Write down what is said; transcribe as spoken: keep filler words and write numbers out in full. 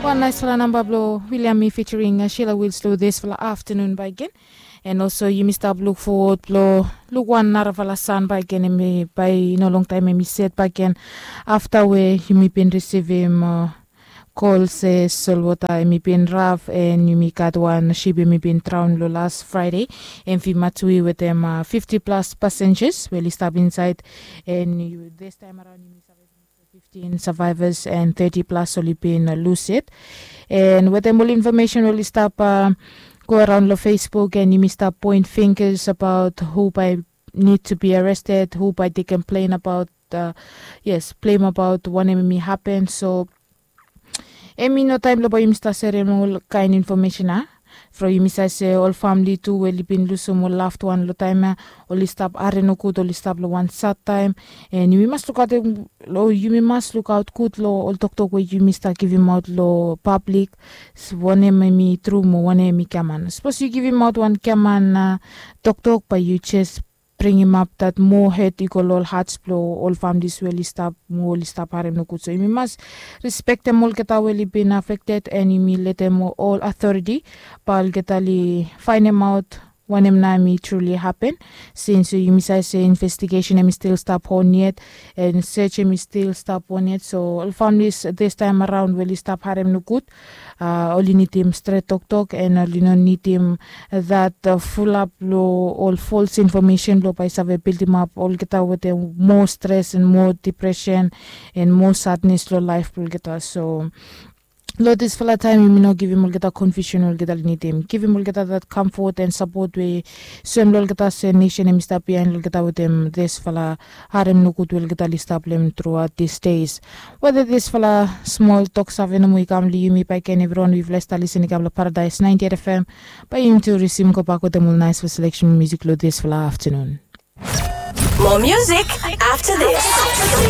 Wan naispela namba blong William mi featuring Sheila Wills long dispela aftanun baik gen. And also yumi stap luk forward blong luk wan narafala san baik gen, em baik i no longtaim em i set baik gen. Afta we yumi bin risivim kol se solwota em i bin raf, and yumi gat wan ship em i bin traun long las Fraide, em fi matui wetem fifti plas pasenjas we oli stap insait. And distaim araun yumi save fiftin savaivas and teti plas oli bin lus yet. And wetem ol infomesen oli stap go araun long Facebook, and yumi stap poin fingers abaut hu bai nid tu bi arested, hu bai de komplen abaut, yes, blem abaut wanem em i hapen. So em i no taim blong bai yumi stap serem ol kain infomesen a from yumi save se ol famili tu we oli bin lusim ol laved wan long taim ya, oli stap harim nogut, oli stap long wan sad taim. And yumi mas lukaut, yumi mas lukaut gut long ol toktok we yumi stap givimaut long pablik, wanem em i tru mo wanem em i giaman. Sapos yu givimaut wan giaman toktok, bai yu jes bringimap dat moa het i go long ol hats blong ol familis we oli stap mo oli stap harim nogut. So yumi mas respektem olgeta we oli bin afekted, and yumi letem ol authority bai olgeta oli fainemaut wanem nao em i truli hapen. Sins yumi save se investigesen em i stil stap on yet, and sej em i stil stap on yet. So ol familis distaim araun we oli stap harim nogut, oli nidim stret toktok, and oli no nidim dat fulap long ol fols infomesen blong bai save bildimap olgeta wetem moa stres and moa dipresen and moa sadnes long laef blong olgeta. So long disfala taim yumi no givim olgeta konfiusen olgeta oli nidim. Givim olgeta dat kamfot and sapot we soem long olgeta se nesen em i stap biain long olgeta wetem disfala harim nogut we olgeta oli stap long em truaot dis des. Weda disfala smol toksave nomo i kam long yumi, bai ken evriwan we yufala i stap lisin i kam long Paradais ninety-eight F M, bai yumi tu risim gobak wetem ol naispela seleksen musik long disfala aftanun. More music after this.